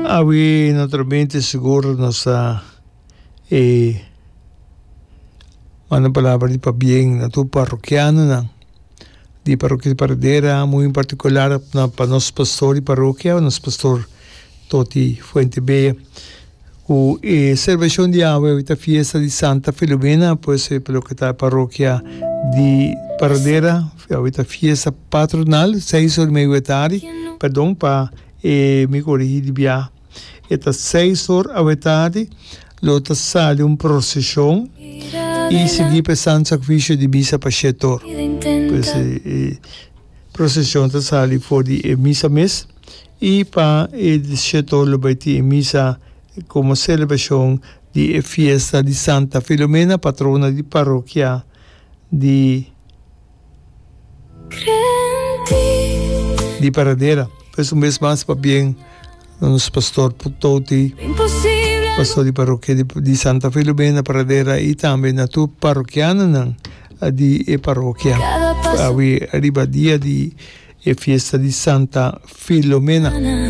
Awe naturalmente sigur nos ta e manda palabra di pabien na tur parrokianonan di parokia di Paradera, muy en partikular na pa nos pastor di parokia, nos pastor Toti Fuentebella. Ku e selebrashon di awe awe ta fiesta di Santa Filomena, pues pa loke ta parokia di Paradera awe ta fiesta patronal seis or medio e tardi, perdon pa e mi korigi di bia e ta seis or awe tardi lo ta sali un proseshon i sigui pa e Santo Sakrifisio di misa pa shete or, pues e proseshon ta sali for di e misa mes. I pa e dieshetor lo bai tin e misa komo selebrashon di e fiesta di Santa Filomena, patrona di parokia di di Paradera. Pues un bes mas pabien na nos pastor Toti, pastor di parokia di Santa Filomena, Paradera i tambe na tur parokianonan di e parokia awe riba dia di E fiesta di Santa Filomena.